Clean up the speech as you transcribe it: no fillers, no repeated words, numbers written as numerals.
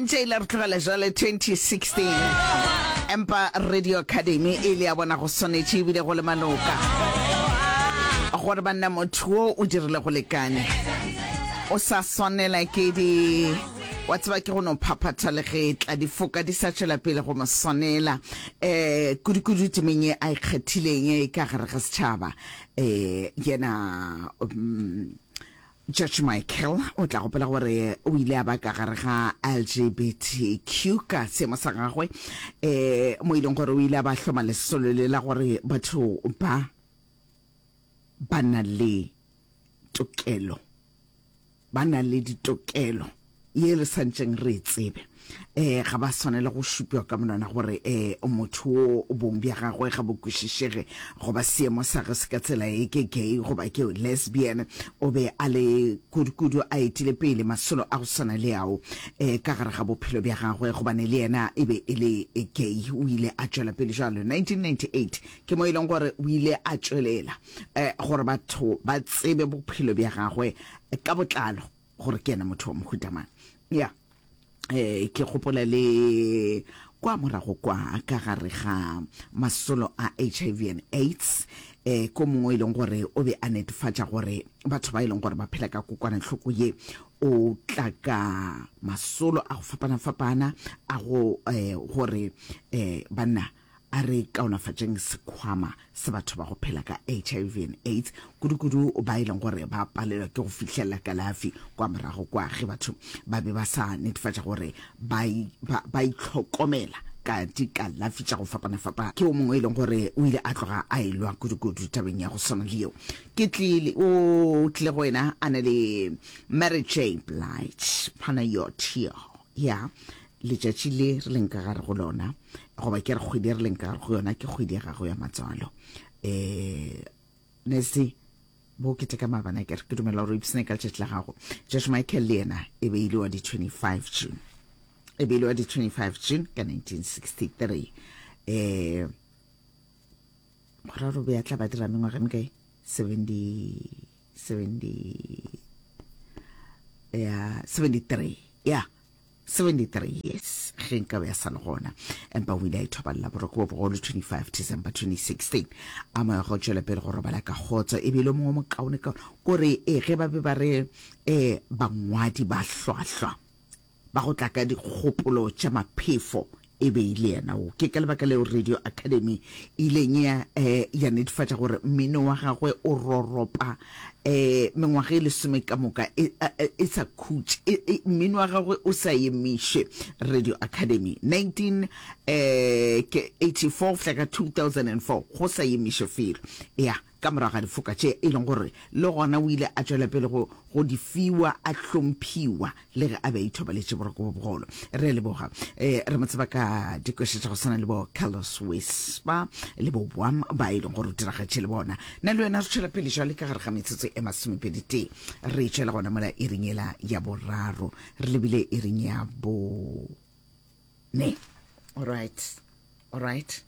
Santše ile re tlogela jwale 2016 empa Radio Academy e ile ya bona go swanetše ebile go le maloka gore banna motho wo o dirile go lekane o sa swanela ke di wa tseba ke go no phaphatha le ge tla difoka di sa tšwela pele go mo swanela um kudukudu temeng ye a ikgethileng e ka gare ga setšhaba um yena um, George Michael o tla gopola gore o ile a ba ka gare ga LGBTQ ka seemo sa gagwe um mo e leng gore o ile a ba hloma lesolo le la gore batho ba ba na le tokelo ba na le ditokelo ye re santšeng re e tsebe um ga ba swanela go šupiwa ka monwana gore um motho wo bong bja gagwe ga bo kwešišege goba seemo sa ge se ka tsela e ke gay goba ke lesbian. O be a le kudukudu a etile pele masolo a go swana le ao um ka gare ga bophelo bja gagwe gobane le yena e be e le gay. O ile a tšwela pele jwalo. 1998 ke mo e leng gore o ile a tšwelela um gore batho ba tsebe bophelo bja gagwe ka botlalo gore ke yena motho wa mohuta mang. Ya, eh, ke gopola le kwa morago kwa ka gare ga masolo a HIV and AIDS, eh, ko mongwe e leng gore o be a netefatša gore batho ba e leng gore ba phela ka kokwanahloko ye o tla ka masolo a go fapana-fapana a go eh, gore eh, banna A re kaonafatšeng sekhwama sa batho ba go phela ka HIV and AIDS, kudukudu ba e leng gore ba palelwa ke go fihlelela kalafi kwa morago kwa ge batho ba be ba sa netefatša gore ba, ba, ba itlhokomela ka dikalafi tša go fapana-fapana. Ke o mongwe e leng gore o ile a tloga a elwa kudukudu tabeng ya go swana le yeo. Ke tlile, o tlile go wena a na le Mary J. Blige, Panayotia, ya Letšatši le re leng ka gare go lona, goba ke re kgwedi e re leng ka gare go yona, ke kgwedi ya gago ya matswalo. Um Nancy, bo keteka maabane ke re ke dumela gore o ipsene ka letšatši la gago. George Michael le yena e be e le wa di 25 June. E be e le wa di 25 June ka 1963. Um go ra gore o be a tla ba dira mengwaga e mekae? 70 70 ya 73 ya 73 years ge nka be a sa le gona empa o ile a ithobalela boroko bo bogolo 25 December 2016 a moya go tšwela pele go robala ka kgotso e bile mongwe mokaone kaone kore e ge ba be ba re um bangwadi ba hlwahlwa ba go tla ka dikgopolo tša maphefo e be e le yena wo. Ke ka lebaka leo Radio Academy e ileng ya, eh, ya netefatša gore mmino wa gagwe o roropa eh, mengwaga e lesome ka moka e, e, e sa khutše, e, e, mmino wa gagwe o sa emiše. Radio Academy 19 eh, ke 84 go fihla ka 2004 go sa emiše felo. Ya, ka morago ga difoka tše e leng gore le gona o ile a tšwela pele go, go di fiwa, a hlomphiwa le ge a be a ithobaletše boroko bo bogolo. Re a leboga. E, re mo tseba ka dikoša tša go swana le bo Carlos Whisper le bo Bwam ba e leng gore o diragatše le bona. Nna le wena re tšwela pele jwale ka gare ga metsotso e masomepedi tee. Re tšwela gona mola iring yela ya boraro. Re lebile iring ya bo ne. All right. All right.